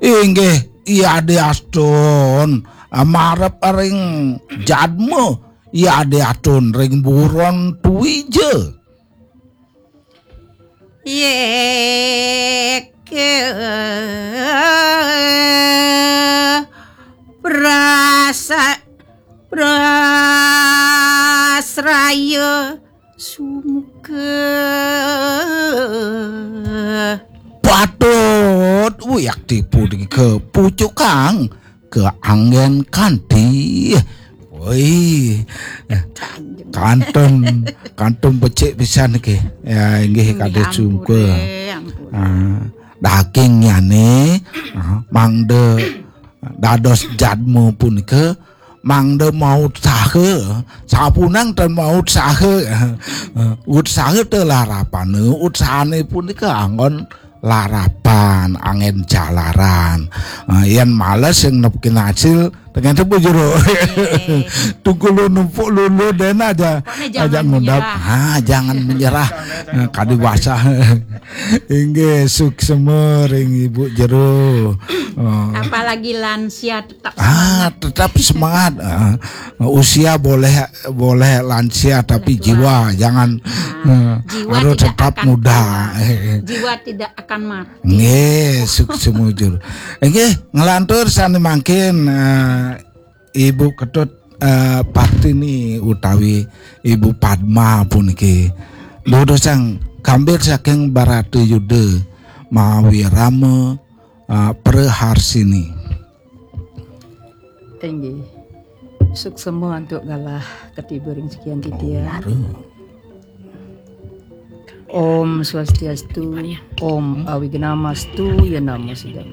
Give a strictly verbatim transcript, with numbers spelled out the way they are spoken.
Inggih, Ida Astun, marep ring jadma, Ida Astun ring buron Twija. Yeke prasa prasraya sumuka. Patut wiakti punika pucukang ke anggen kanti. Woi, kantun, kantun becik pisan ke. Ya, inggih, kade sungkuh. Ah, daging nyane, ah, mangda dados jadma punika, mangda mautsaha, sapunang ten mautsaha. Utsaha te larapane, utsahane punika anggon larapan, anggen jalaran. Ah, yen males sing nepkin hasil, ternyata bujur. Tunggu lu numpuk lulu den aja, aja ngundap. Ah, jangan menyerah. Ah, kadi basah. Inggih, suksema ring Ibu Jero. Ah. Apalagi lansia tetap semangat. Ah, tetap semangat. Ah, usia boleh boleh lansia tapi jiwa jangan, ah, jiwa harus tetap muda. Jiwa tidak akan mati. Nggih, suksema jur. Nggih, nglantur sane mangkin, eh, Ibu Ketut, eh, Partini utawi Ibu Padma puniki. Durusang kambit saking Baratayuda mawi Rama, eh, Preharsini. Inggih. Suksema antuk galah katiba ring sikian titiang. Om Swastiastu, Om Awignamastu, ya namo sidam.